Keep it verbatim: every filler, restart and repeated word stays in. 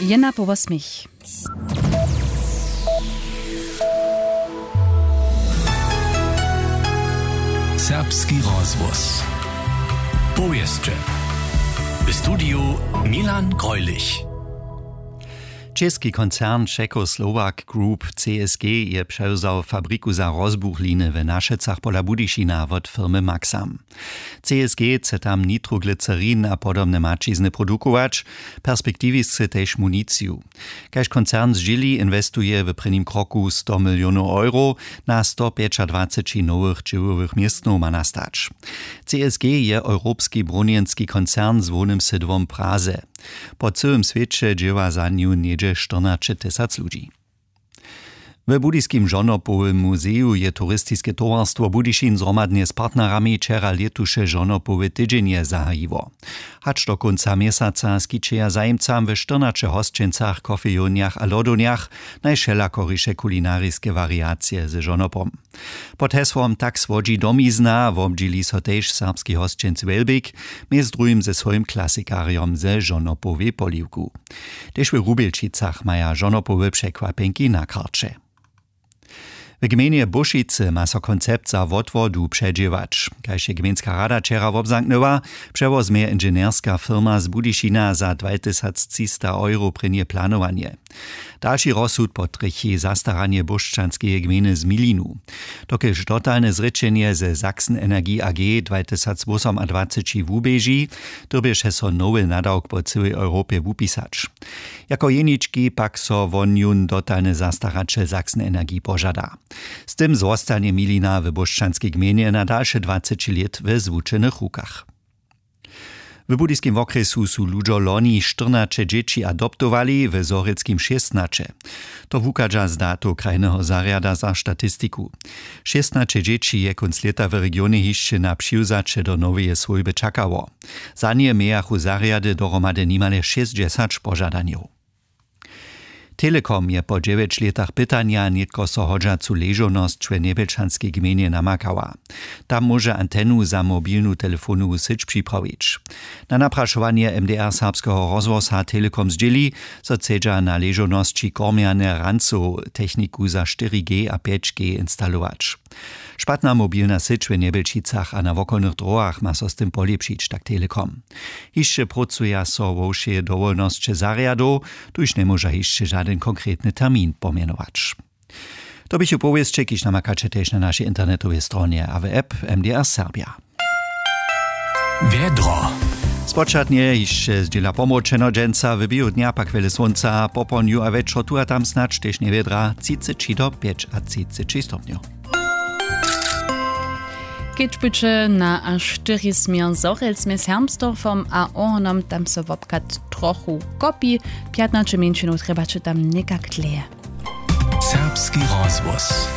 Jedna po wosmich. Serbski rozhłos. Powěsće. W studiju Milan Greulich. Česki koncern Czechoslovak Group C S G je přewzał fabriku za rozbuchliny w Našecach pola Budyšina wot firmy Maxam. C S G chce tam nitroglycerin a podobne maćizny produkować, perspektiwisce tež municiju. Kaž koncern zdźěli, inwestuje w prěnim kroku sto milionow euro, na sto pjećadwaceći nowych dźěłowych městnow ma nastać. C S G je europski brunjenski koncern z hłownym sydłom w Praze. Po cyłym swěće dźěła za nju něhdźe štyrnaće tysac ludźi. W budyskim žonopowym muzeju je turistiske towarstwo Budyšin zhromadnje z partnerami wčera lětuše žonopowe tydźenje zahajiło. Hač do kónca měsaca skićeja zajimcam w štyrnaće hosćencach, kofejownjach a lodownjach najwšelakoriše kulinariske wariacije ze žonopom. Pod hesłom Tak słodźi domizna wobdźěli so tež serbski hosćenc Wjelbik, mjez druhim ze swojim klasikarjom ze žonopowej poliwku. Tež w Rubjelčicach maja žonopowe překwapjenki na karće. W gmejnje Bóšicy ma so koncept za wotwodu předźěłać. Kaž je gmejnska rada wčera wobzamknyła, přewozmje inženjerska firma z Budyšina za dwatysactřista euro prěnje planowanje. Dalši rozsud potrjechi zastaranje bóšćanskeje gmejny z Milinu. Dokelž dotalne zrěčenje ze Sachsen Energie A G dwatysacwosomadwaceći wuběži, dyrbješe so nowy nadawk po cyłej Europje wupisać. Jako jenički pak so won jón dotalny zastaraćel Sachsen Energie požada. Z tym zwostanje Milina w bóšćanskej gmejnje na dalše dwaceći lět we zwučenych rukach. W budyskim wokrjesu su ludźo loni štyrnaće dźěći adoptowali, w zhorjelskim šěstnaće. To wuchadźa z datow krajneho zarjada za statistiku. Šěstnaće dźěći je kónc lěta w regionje hišće na přiwzaće do noweje swójby čakało. Za nje mějachu zarjady dohromady nimale šěsćdźesać požadanjow. Telekom je po dźewjeć lětach pytanja nětko so hodźacu ležownosć w njebjelčanskej gmejnje namakała. Tam móže antenu za mobilnu telefonowu syć připrawić. Na naprašowanje M D R Serbskeho rozhłosa Telekom zdźěli, zo chcedźa na ležownosći kormjane rancow techniku za štyri G a pjeć G instalować. Špatna mobilna syć w Njebjelčicach a na wokolnych dróhach ma so z tym polěpšić, tak Telekom. Hišće prócuja so wo wšej dowolnosće zarjadow, tuž njemóža hišće žadyn konkretny termin pomjenować. To běchu powěsće, kiž namakaće tež na našej internetowej stronje a w app M D R Serbia. Wjedro. Spočatnje hišće zdźěla pomročeno, dźensa w běhu dnja pak wjele słónca, popołdnju a wječor tu a tam snadź tež njewjedra, třiceći do pjećatřiceći stopnjow. Kedź budźe na a štyri směr zhorjelc mjez Hermsdorfom a Ohornom, tam so wobchad trochu kopi, pjatnaće mjeńšinow trjebaće tam někak dlěje. Serbski rozhłos.